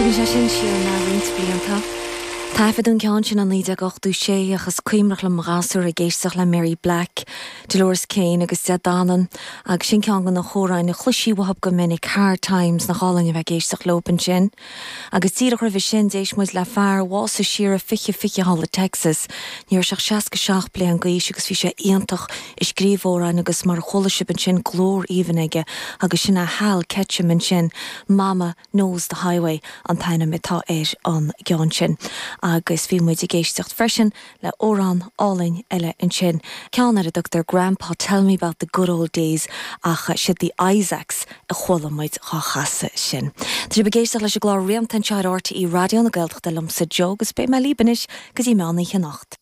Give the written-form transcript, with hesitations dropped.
Tugann sé sin siar mé roinnt blianta. Taifeadadh an ceann sin i 1986 ach is cuimhneach liom mo ghasúr ag éisteacht le Mary Black, Dolores Keane agus Des Dannan agus sin ceann de na hamhráin a chloisí uathub go minic, Hard Times, nach álainn a bheith ag éisteacht leob ansin. Agus díreach roimhe sin d'éist muid le fear a bhásaigh siar i 2020 thall i Texas. Ní raibh sé ach 67 bliain d'aois agus bhí sé iontach ag scríobh amhráin agus mar a chuala sibh ansin glór aoibhinn aige agus sin é Hal Ketchum ansin, Mama Knows the Highway an t-ainm atá ar an gceann sin. Agus bhí muid ag éisteacht freisin le amhrán álainn eile ansin, ceann ar a dtugtar Grandpa Tell Me About the Good Old Days ach siad The Isaacs a chuala muid dhá chasadh sin. Tá sibh ag éisteacht leis an gclár Rianta anseo ar RTÉ Raidió na Gaeltachta liomsa Joe agus beidh mé libh anois go dtí meán oíche anocht.